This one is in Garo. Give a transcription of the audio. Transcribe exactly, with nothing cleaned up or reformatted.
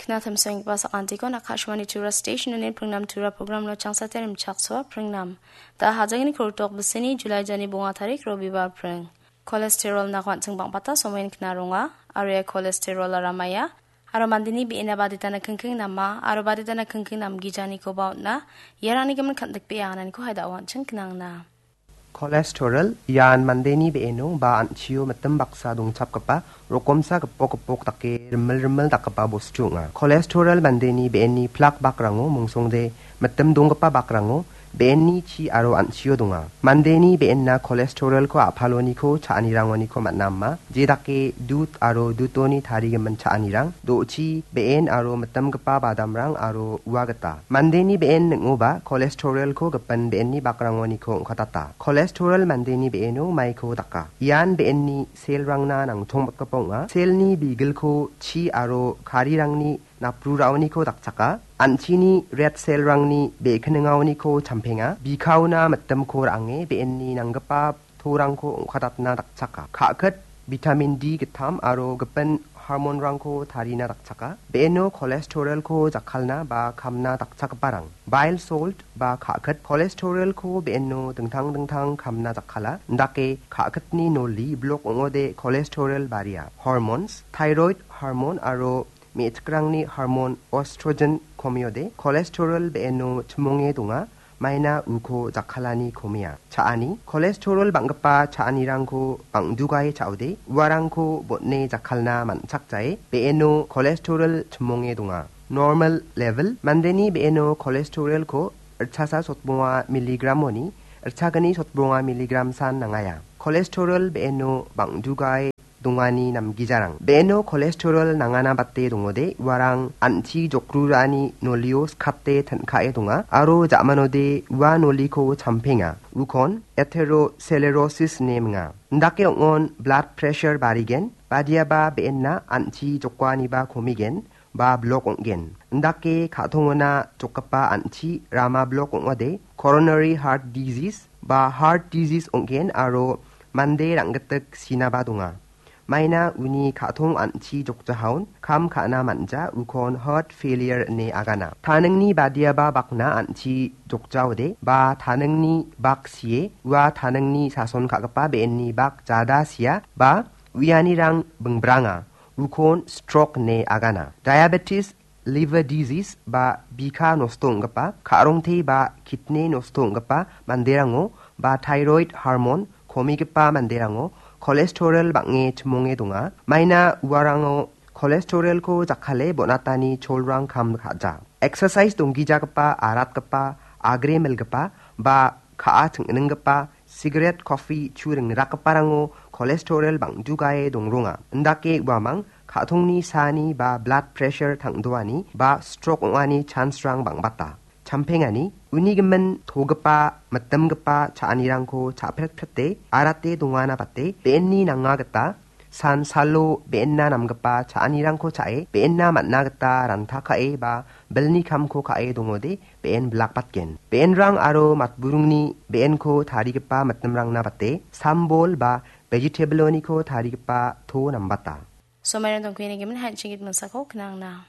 Kna tamsenggipa sakantikon Akashvani Tura Station-oni pringnam Tura programno changsate rimchaksoa pringnam. Da hajangni kurtok bisini July jani bonga tarik Robibar pring. Cholesterol-na kuan·ching bang·bata somoin kna ronga, aro ia cholesterol-ara maia, aro mandeni be·ena baditana kingking nama, aro baditana kingking namgijanikoba on·a, iarangni gimin kan·dikbea anganiko haida·o an·ching knangna. Cholesterol ian mandeni be·eno ba an·chio mitim baksa dongchapgipa rokomsa gipok gipok dake rimil rimil dakgipa bostu ong·a. Cholesterol mandeni be·enni plak bakrango mongsongde mitim donggipa bakrango be·enni chi aro an·chio donga. Mandeni be·enna cholesterolko a·paloniko cha·anirangoniko man·a ama, jedake dut aro dutoni tarigimin cha·anirang, do·chi, be·en aro mitimgipa badamrang aro ua gita. Mandeni be·en ning·oba cholesterolko gipin be·enni bakrangoniko ong·katata. Cholesterol mandeni be·eno maiko daka. Ian be·enni selrangna nangtongbatgipa ong·a. Selni bigilko chi aro karirangni napruraoniko dakchaka. An·chini red selrangni be·kiningaoniko champenga. Bikaona mitimko ra·ange be·enni nanggipa torangko ong·katatna dakchaka. Ka·kit, vitamin D gittam aro gipin hormonrangko tarina dakchaka. Be·eno cholesterolko jakkalna ba kamna dakchakgiparang. Bile salt ba ka·kit cholesterolko be·eno dingtang dingtang kamna jakkala. Indake ka·kitni noli blok ong·ode cholesterol baria. Hormones, thyroid hormone aro me·chikrangni hormon estrogen komiode cholesterol be·eno chimonge donga, maina uko jakkalani komia. Cha·ani, cholesterol bang·gipa cha·anirangko bang·dugae cha·ode uarangko botne jakkalna man·chakjae be·eno cholesterol chimonge donga. Normal level, mandeni be·eno cholesterolko ritchasa sotbonga miligramoni ritchagni sotbonga miligram san nangaia. Cholesterol be·eno bang·dugae dongani namgijarang. Be·eno cholesterol nangana bate dongode, uarang an·chi jokrurani nolio skate tin·kae donga, aro ja·manode ua noliko champenga. Ukon atherosclerosis ine minga. Indake ong·on blood pressure barigen, badiaba be·enna an·chi jokaniba komigen, ba blok ong·gen. Indake ka·tongona jokgipa an·chi rama blok ong·ode, coronary heart disease ba heart disease ong·gen aro mande rang·gitik sinaba donga. Maina uni ka·tong an·chi jokjahaon kam ka·na man·ja, ukon heart failure ine agana. Taningni badiaba bakna an·chi jokjaode ba taningni bak sie, ua taningni sason ka·gipa be·enni bak jada sia ba uianirang bingbranga, ukon stroke ine agana. Diabetes, liver disease ba bika nosto ong·gipa, ka·rongte ba kidney nosto ong·gipa manderango ba thyroid hormone komigipa manderango cholesterol bang·e chimonge donga. Maina uarango cholesterolko jakkale bonatani cholrang kam ka·ja. Exercise donggijagipa, aratgipa, agre milgipa ba ka·a ching·ninggipa, cigarette, coffee chu ringrakgiparango cholesterol bang·dugae dongronga. Indake uamang ka·tongni saani ba blood pressure tang·doani ba stroke ong·ani chance-rang bang·bata. Champengani, uni gimin togipa, mitimgipa cha·anirangko cha·pret prete, arate dongana bate, be·enni nanga gita, san salo be·enna namgipa cha·anirangko cha·e, be·enna man·a gita ranta ka·e ba bilni kamko ka·e dongode, be·en bilakbatgen. Be·enrang aro matburingni be·enko tarigipa mitimrangna bate, sambol ba vegetable-oniko tarigipa to nambata. Somairang dongkuni gimin han·ching git mingsako knangna.